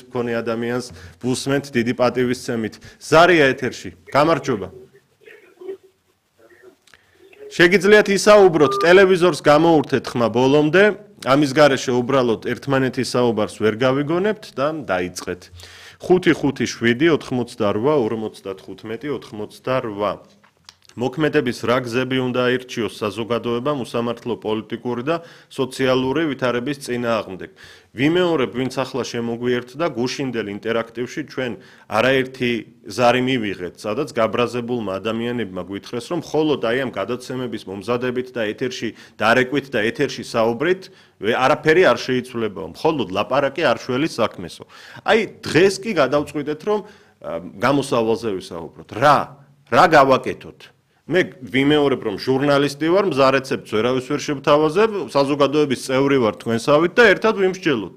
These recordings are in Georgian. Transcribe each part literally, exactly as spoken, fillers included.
მქონე ადამიანს ვუსმენთ დიდი პატივისცემით. ზარია ეთერში. გამარჯობა. შეგიძლიათ ისაუბროთ, ტელევიზორს გამოურთეთ ხმა ბოლომდე, ამის გარეშე უბრალოდ ერთმანეთის საუბარს ვერ გავიგონებთ და დაიწყეთ. ხუთი ხუთი შვიდი ოთხმოცდარვა ორმოცდათხუთმეტი ოთხმოცდარვა. მოქმედების რა გზები უნდა აირჩიოს საზოგადოებამ უსამართლო პოლიტიკური და სოციალური ვითარების წინააღმდეგ. ვიმეორებ, ვინც ახლა შემოგვიერთდა გუშინდელ ინტერაქტივში ჩვენ არაერთი ზარი მივიღეთ, სადაც გაბრაზებულმა ადამიანებმა გვითხრეს, რომ მხოლოდ აი ამ გადაცემების მომზადებით და ეთერში დარეკვით და ეთერში საუბრით არაფერი არ შეიცვლებაო, მხოლოდ ლაპარაკი არ შველის საქმესო. აი დღეს კი გადავწყვიტეთ, რომ გამოსავალზე ვისაუბროთ. რა? რა გავაკეთოთ? მე ვიმეორებ, რომ ჟურნალისტი ვარ, მზა რეცეპტს ვერავის ვერ შევთავაზებ, საზოგადოების წევრი ვარ თქვენსავით და ერთად ვიმსჯელოთ.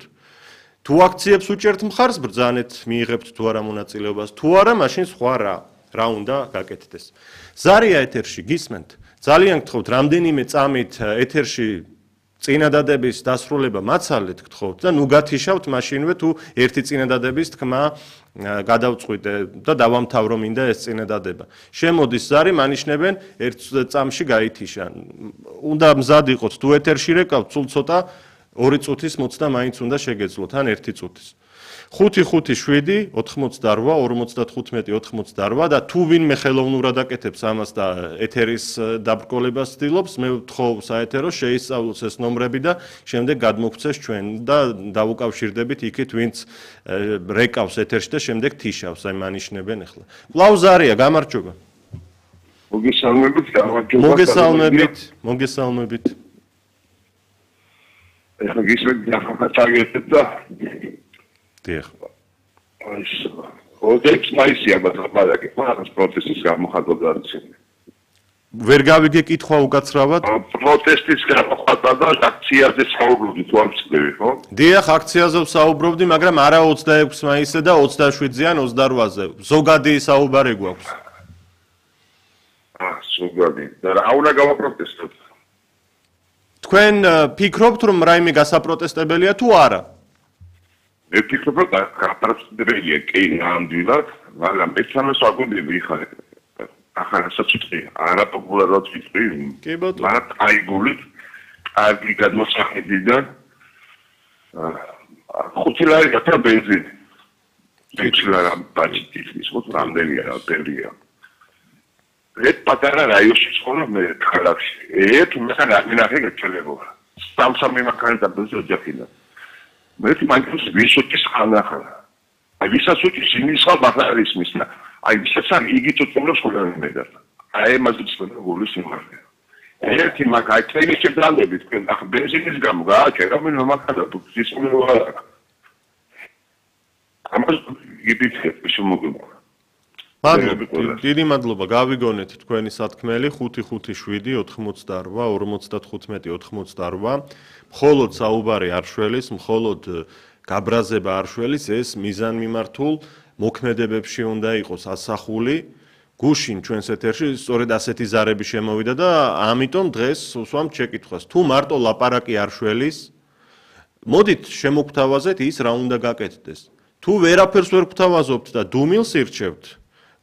თუ აქციებს უჭერთ მხარს, ბრძანეთ, მიიღებთ თუ არა მონაწილეობას, თუ არა, მაშინ სხვა რა, რა უნდა გაკეთდეს. ზარია ეთერში, გისმენთ? ძალიან გთხოვთ, რამდენიმე წამით ეთერში წინადადების დასრულება მაცალეთ გთხოვთ და ნუ გათიშავთ მაშინვე თუ ერთი წინადადების თქმა გადავწყვიტე და დავამთავრო მინდა ეს წინადადება. შემოდის ზარი, მანიშნებენ ერთ წამში გაითიშა. უნდა მზად იყოთ, თუ ეთერში რეკავთ, სულ ცოტა ორი წუთის მოცდა მაინც უნდა შეგეძლოთ, ან ერთი წუთის. ხუთი ხუთი შვიდი ოთხმოცდარვა ორმოცდათხუთმეტი ოთხმოცდარვა და თუ ვინმე ხელოვნურად აკეთებს ამას და ეთერის დაბრკოლებას ცდილობს, მე ვთხოვ საეთერო შეისწავლოს ეს ნომრები და შემდეგ გადმოგცეს ჩვენ და დავუკავშირდებით იქით, ვინც რეკავს ეთერში და შემდეგ თიშავს, აი მანიშნებენ ახლა. კვლავზარია, გამარჯობა. მოგესალმებით, გამარჯობა. მოგესალმებით, მოგესალმებით. ეხლა გისმენთ ახლა წაგეთეთ და დიახ. აი, ოდექს მაისია ბატონი, მაგას პროტესტის გამოხატვა და ვერ გავიგე კითხვა უკაცრავად? პროტესტის გამოხატვა და აქციაზე საუბრობდი, თუ არ ვცდები, ხო? დიახ, აქციაზე ვსაუბრობდი, მაგრამ არა ოცდაექვსი მაისზე და ოცდაშვიდზე ან ოცდარვაზე. ზოგადი საუბარი გვაქვს. აა, ზოგადი. და რა უნდა გავაპროტესტოთ? თქვენ ფიქრობთ, რომ რაიმე გასაპროტესტებელია თუ არა? მე ვფიქრობ, რომ გასაპროტესტებელია კი ნამდვილად, მაგრამ ეცამას ვაგვიდები ხარ. ახლა საერთოდ არაპოპულარულად ვიტყვი, მაგრამ აიგულით, კარგი გადმოსახედიდან ხუთი ლარი გაქრა ბენზინი. ხუთი ლარი ბაჭიტის, ხო, რამდენია, ბევრია. ერთ პატარა რაიონში ცხოვრობ მე ქალაქში. ერთ მეხან არ მინახე გეჩველებობა. სამსამი მანქანა ბენზინი ოჯახიდან. მე თვითონ ვისოჭის ხანახა. აი ვისაც უჭის იმის ხალ ბახარის მისნა. აი ვისაც არ იგით უწმობს ხოლმე მე და. აი მას უწმობა გულის იმხარია. ერთი მაგ აი ტრენის შეძალებით თქვენ ახლა ბენზინის გამო გააჩერა მე მომახადა ის მომავალ. ამას იგიფიქრეთ შემოგება. მადლობა, დიდი მადლობა, გავიგონეთ თქვენი სათქმელი ხუთი ხუთი შვიდი ოთხმოცდარვა ორმოცდათხუთმეტი ოთხმოცდარვა. მხოლოდ საუბარი არ შველის, მხოლოდ გაბრაზება არ შველის, ეს მიზანმიმართულ მოქმედებებში უნდა იყოს ასახული. გუშინ ჩვენს ეთერში სწორედ ასეთი ზარები შემოვიდა და ამიტომ დღეს ვსვამთ შეკითხვას. თუ მარტო ლაპარაკი არ შველის, მოდით შემოგთავაზეთ ის რა უნდა გაკეთდეს. თუ ვერაფერს ვერ გვთავაზობთ და დუმილს ირჩევთ,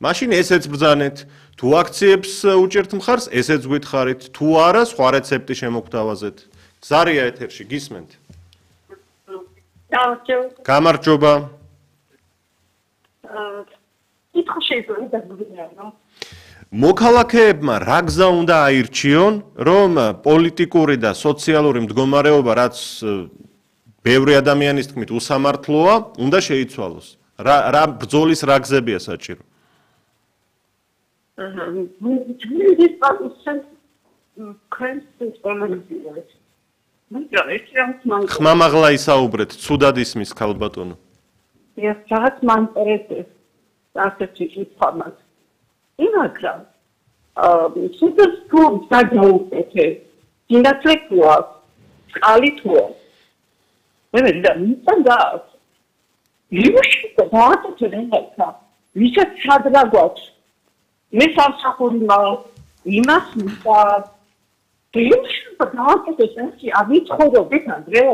მაშინ ესეც ბრძანეთ. თუ აქციებს უჭერთ მხარს, ესეც გითხარით. თუ არა, სხვა რეცეპტი შემოგთავაზეთ. ზარია ეთერში, გისმენთ? გამარჯობა. კითხვა შეიძლება დაგვიგებინო. მოქალაქეებმა რა გზა უნდა აირჩიონ, რომ პოლიტიკური და სოციალური მდგომარეობა, რაც ბევრი ადამიანის თქმით უსამართლოა, უნდა შეიცვალოს. რა რა ბრძოლის რა გზებია საჭირო? აჰა. ის პასუხი კრენსის კომენტირებს. ხმამაღლა ისაუბრეთ, ცუდად ისმის ქალბატონო. ეს რაღაც მან წერეს ასეთი ინფორმაცია. იმაგრა აა სუპერ სკულ დაგაუკეთე. ინდატრეკუა კალითუა. მე მე და მიწა იმაში დააწყო რენკა. ვისაც სადღა გვაქვს. მე სამსახური მაქვს. იმას მიწა. იმაში დააწყო ესეთი ავიცხოვდით ანდრე.